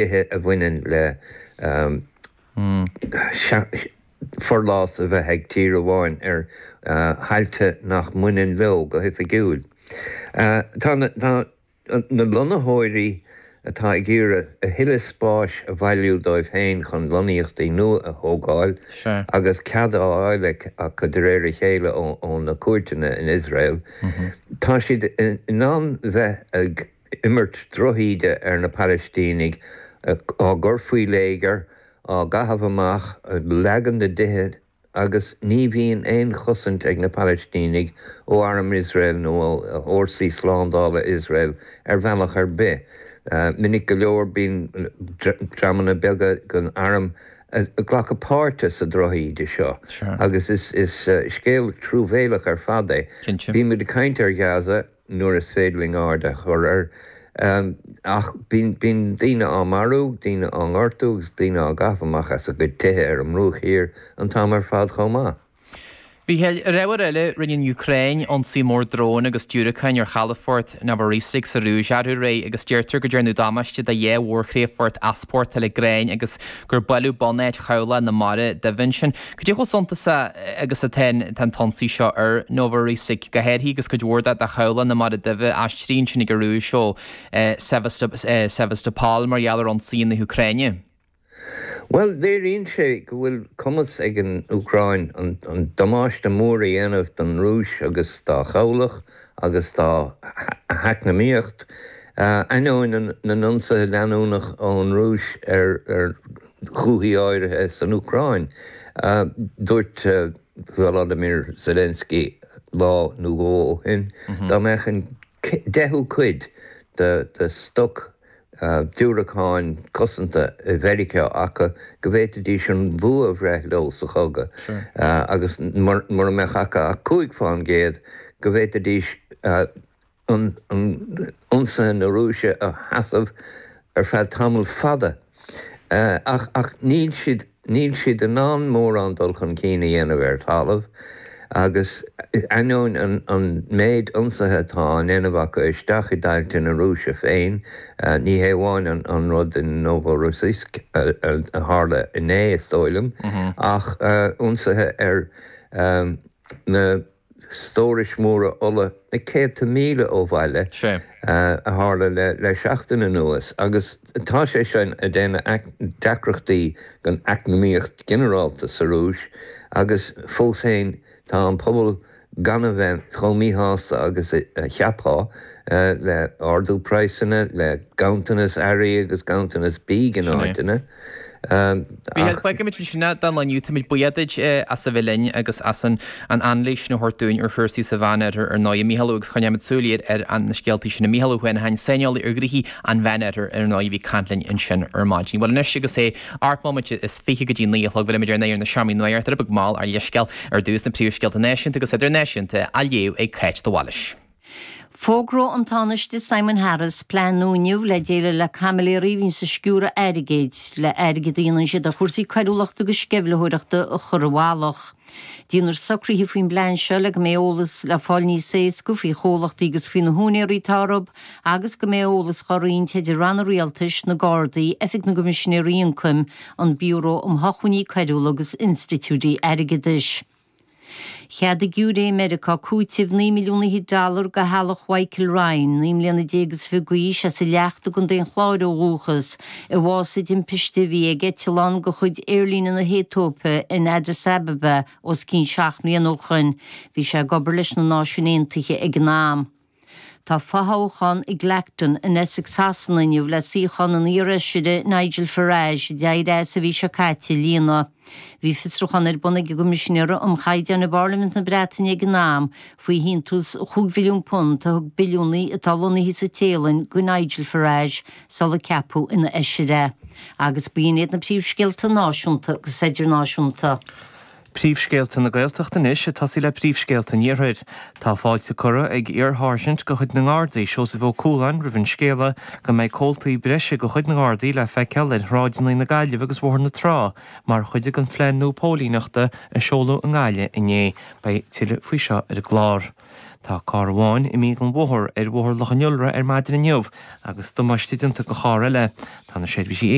Nithe a bhaineann le forlás a bheith ag tír amháin ar thailte nach mbaineann leo go hoifigiúil. Tá na lonnaitheoirí atá ag iarraidh a thuilleadh spáis a bhailiú dóibh féin chun lonnaíochtaí nua a thógáil agus cead á fháil acu de réir a chéile ó na cúirteanna in Iosrael, tá siad in ann bheith ag imirt drochíde ar na Palaistínigh, á gcur faoi léigear, á gcaitheamh amach, ag leagan na dtithe agus ní bhíonn aon chosaint ag na Palaistínigh ó arm Iosrael nó ó fhórsaí slándála Iosrael ar bhealach ar bith. Minic go leor bíonn dreamanna beaga den arm ag glacadh páirte sa drochíde seo agus is scéal truamhéalach ar fad é. Bímid ag caint ar Ghaza. nuair is féidir linn aird a chur air. Ach bíonn daoine á marú, daoine á ngortú agus daoine á gcaitheamh amach as a gcuid tithe ar an mBruach Thiar an t-am ar fad chomh maith. Mhícheáil, ar ábhar eile, rinne an Úcráin ionsaí mór drón agus diúracáin ar chalafort Novorossiysk sa Rúis arú aréir agus deirtear go ndearnadh damáiste do dhá mhórchríochfort easpórtála gráin agus gur buaileadh bunáit chabhlaigh na Mara Duibhe ansin. Cad é chomh suntasach agus atá an t-ionsaí seo ar Novorossiysk, go háirithe agus cuid mhór de chabhlach na Mara Duibhe aistrithe ansin ag an Rúis ó Sevastopol mar gheall ar ionsaí na hÚcráine? Bhuel, léiríonn sé go bhfuil cumas ag an Úcráin an damáiste mór a dhéanamh don Rúis agus dá chabhlach agus dá heacnamaíocht, ainneoin na n-ionsaithe leanúnach ón Rúis ar dhúichí áirithe san Úcráin. Dúirt Volodymyr Zelensky lá nó dhó ó shin dá mbeadh an deichiú cuid de stoc diúracáin cosanta i Mheiriceá acu go bhféadfaidís an bua a bhreith leo sa chogadh agus mura mbeadh acu ach 5 fán gcéad go bhféadfaidís ionsaithe na Rúise a sheasamh ar feadh tamall fada. Ach ach níl siad níl siad in ann mórán dul chun cinn a dhéanamh ar talamh agus ainneoin an an méid ionsaithe atá á ndéanamh acu isteach i dtailte na Rúise féin, ní hé amháin an an rud in Novorossiysk a tharla inné is dóigh liom, ach ionsaithe ar na stórais mhóra ola na céadta míle ó bhaile a tharla le seachtain anuas agus tá sé sin ag déanamh deacrachtaí don eacnamaíocht ghinearálta sa Rúis agus fós féin tá an pobal gan a bheith chomh míshásta agus a cheapfá le ardú praghsanna, le ganntanas earraí agus ganntanas bídh in áiteanna. Mhícheáil, fágfaimid ansin é don lá inniu. Táimid buíoch duit as a bheith linn agus as an anailís sin a thabhairt dúinn ar chúrsaí sa Mheánoirthear ar ndóigh. A Mhícheáil agus coinneoimid súil ar na scéaltaí sin. Mícheál Ó hUanacháin, saineolaí ar ghnoithí an Mheánoirthir ar ndóigh, a bhí ag caint linn ansin ar maidin. Bhuel anois agus é 18 móiméad go dtí 9 a chlog, bhfuilimid ar ndóigh ar na seomraí nuachta ar beag mall ár leithscéal ar dtús na príomhscéalta náisiúnta agus idirnáisiúnta á léamh ag Cáit de Bhailís. Fógróidh an Tánaiste Simon Harris plean nua inniu le déileáil le caimiléirí a bhíonns ag sciúradh airgid, le airgead a dhéanann siad ar chúrsaí coiriúlachta agus sceimhlitheoireachta a chur i bhfolach. Déanfar socruithe faoin bplean seo le go mbeidh eolas le fáil níos éasca faoi chomhlachtaí agus faoi na húinéirí atá orthu agus go mbeidh eolas dhá roinnt idir ranna rialtais, na Gardaí, Oifig na gCoimisinéirí Ioncaim, an Biúró um Shócmhainní Coiriúla agus institiúidí airgeadais. Cheadaigh giúiré i Meiriceá cúiteamh 9 milliún fhichead dollar do theaghlach Mhichael Ryan, 19 mbliana is fiche d'aois, as an Leacht i gContae an Chláir ó dhúchas, a bhásaigh i dtimpiste a bhí ag eitleán de chuid aerlíne na hAetóipe in Addis Ababa os cionn 7 mbliana ó shoin. Bhí sé ag obair leis na Náisiúin Aontaithe ag an am. Tá fothoghchán i gClacton in Essex Shasana inniu le suíochán an iarfheisire Nigel Farage, a d'éirigh as an mhí seo caite, a líonadh. Bhí fiosrúchán ar bun ag an gCoimisinéir um Chaighdeáin i bParlaimint na Breataine ag an am faoi shíntiús chúig mhilliún punt a thug billiúnaí atá lonnaithe sa Téalainn do Nigel Farage sular ceapadh ina fheisire é. Agus b'in iad na príomhscéalta náisiúnta agus idirnáisiúnta. Príomhscéalta na Gaeltachta anois, ag tosaí le príomhscéalta an Iarthair. Tá fáilte curtha ag iar-sháirsint de chuid na nGardaí, Seosamh Ó Cualáin, roimh an scéala go mbeidh comhaltaí breise de chuid na nGardaí le feiceáil ar shráideanna na Gaillimhe agus Bhóthar na Trá mar chuid den phlean nua póilíneachta a seoladh i nGaillimh inné. Beidh tuilleadh faoi seo ar an gclár. Tá carr amháin imithe den bhóthar ar Bhóthar Loch an Iolra ar maidin inniu agus damáiste déanta do charr eile. Tá na seirbhísí.